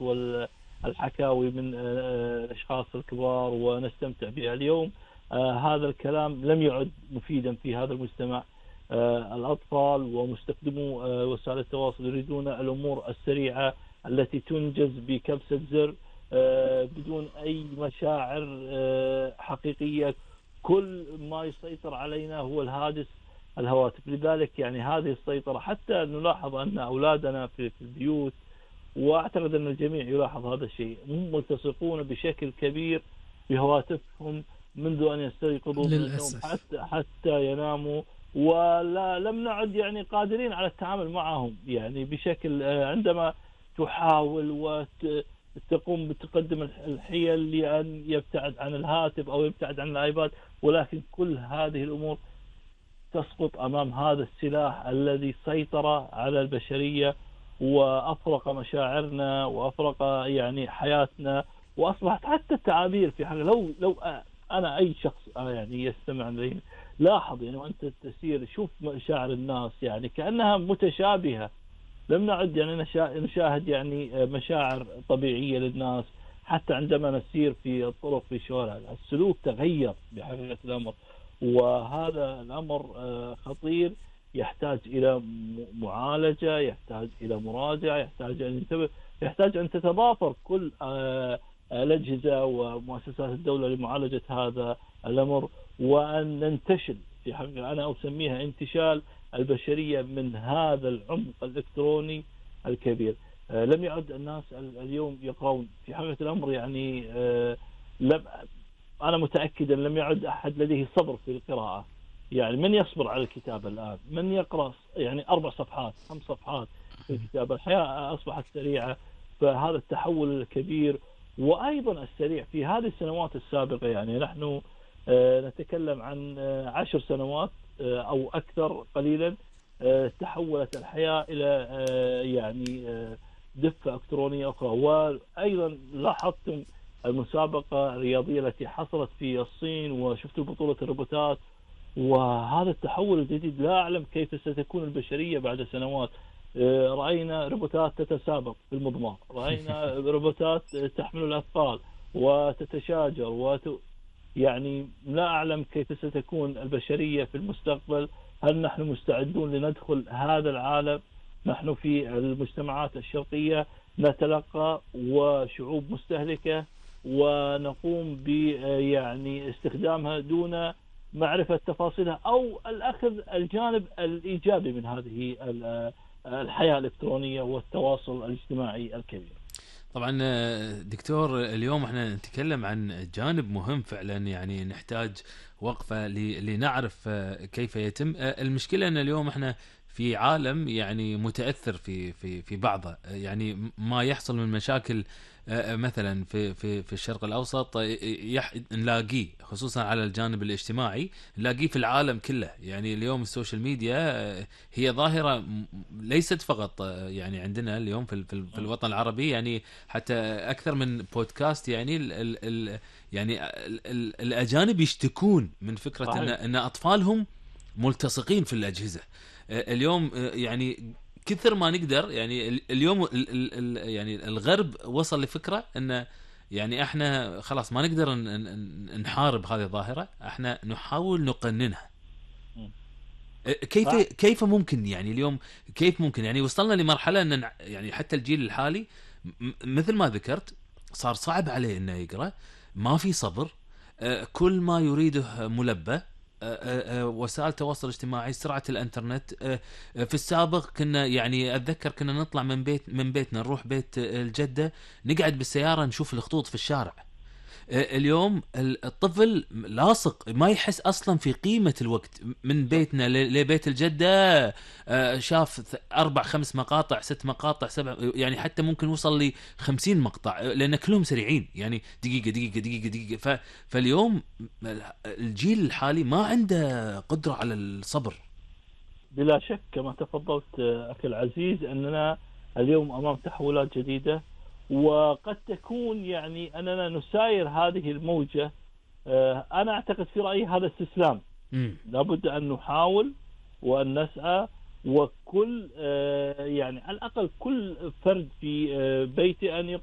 والحكاوي من الأشخاص الكبار ونستمتع بها اليوم. هذا الكلام لم يعد مفيدا في هذا المجتمع. الأطفال ومستخدمو وسائل التواصل يريدون الأمور السريعة التي تنجز بكبسة زر بدون أي مشاعر حقيقية. كل ما يسيطر علينا هو الهواتف. لذلك يعني هذه السيطرة، حتى نلاحظ أن أولادنا في البيوت، وأعتقد أن الجميع يلاحظ هذا الشيء، هم ملتصقون بشكل كبير بهواتفهم منذ أن يستيقظوا من النوم حتى يناموا، ولم نعد يعني قادرين على التعامل معهم يعني بشكل. عندما تحاول وتقوم بتقدم الحيل لأن يبتعد عن الهاتف أو يبتعد عن الآيباد، ولكن كل هذه الأمور تسقط أمام هذا السلاح الذي سيطر على البشرية وأفرق مشاعرنا وأفرق يعني حياتنا، وأصبحت حتى التعابير في حاجة. لو أنا أي شخص يعني يستمع لي لاحظ يعني وأنت تسير شوف مشاعر الناس يعني كأنها متشابهة. لم نعد يعني نشاهد يعني مشاعر طبيعية للناس. حتى عندما نسير في الطرق في الشوارع السلوك تغير بحقيقة الأمر، وهذا الأمر خطير، يحتاج إلى معالجة، يحتاج إلى مراجعة، يحتاج أن تتضافر كل الأجهزة ومؤسسات الدولة لمعالجة هذا الأمر، وأن ننتشل في حقيقة أنا أسميها انتشال البشرية من هذا العمق الإلكتروني الكبير. لم يعد الناس اليوم يقرؤون في حقيقة الأمر يعني. أنا متأكد أن لم يعد أحد لديه صبر في القراءة. يعني من يصبر على الكتاب الآن؟ من يقرأ يعني 4 صفحات 5 صفحات في الكتاب؟ الحياة أصبحت سريعة. فهذا التحول الكبير وأيضا السريع في هذه السنوات السابقة، يعني نحن نتكلم عن 10 سنوات أو أكثر قليلا، تحولت الحياة إلى يعني دفة إلكترونية أخرى. وأيضا لاحظتم المسابقة الرياضية التي حصلت في الصين وشفت بطولة الروبوتات، وهذا التحول الجديد لا أعلم كيف ستكون البشرية بعد سنوات. رأينا روبوتات تتسابق في المضمار، رأينا روبوتات تحمل الأثقال وتتشاجر يعني لا أعلم كيف ستكون البشرية في المستقبل. هل نحن مستعدون لندخل هذا العالم؟ نحن في المجتمعات الشرقية نتلقى وشعوب مستهلكة ونقوم يعني استخدامها دون معرفة تفاصيلها أو الأخذ الجانب الإيجابي من هذه الحياة الإلكترونية والتواصل الاجتماعي الكبير. طبعا دكتور، اليوم احنا نتكلم عن جانب مهم فعلا، يعني نحتاج وقفة لنعرف كيف يتم. المشكلة ان اليوم احنا في عالم يعني متأثر في بعضه، يعني ما يحصل من مشاكل مثلا في الشرق الأوسط نلاقيه خصوصا على الجانب الاجتماعي، نلاقيه في العالم كله. يعني اليوم السوشيال ميديا هي ظاهرة ليست فقط يعني عندنا اليوم في الوطن العربي، يعني حتى أكثر من بودكاست يعني يعني الأجانب يشتكون من فكرة أن أطفالهم ملتصقين في الأجهزة اليوم. يعني كثر ما نقدر يعني اليوم يعني الغرب وصل لفكرة أن يعني احنا خلاص ما نقدر نحارب هذه الظاهرة، احنا نحاول نقننها. كيف ممكن يعني اليوم كيف ممكن يعني وصلنا لمرحلة أن يعني حتى الجيل الحالي مثل ما ذكرت صار صعب عليه انه يقرأ، ما في صبر، كل ما يريده ملبى، وسائل التواصل الاجتماعي، سرعة الانترنت. في السابق كنا يعني اتذكر كنا نطلع من بيتنا نروح بيت الجدة، نقعد بالسيارة نشوف الخطوط في الشارع. اليوم الطفل لاصق ما يحس أصلا في قيمة الوقت، من بيتنا لبيت الجدة شاف 4-5 مقاطع 6 مقاطع 7، يعني حتى ممكن يوصل ل 50 مقطع لأن كلهم سريعين، يعني دقيقة دقيقة دقيقة دقيقة. فاليوم الجيل الحالي ما عنده قدرة على الصبر. بلا شك كما تفضلت أخي العزيز أننا اليوم أمام تحولات جديدة، وقد تكون يعني أننا نساير هذه الموجة. أنا أعتقد في رأيي هذا استسلام. لابد أن نحاول وأن نسعى، وكل يعني على الأقل كل فرد في بيته أن يقوم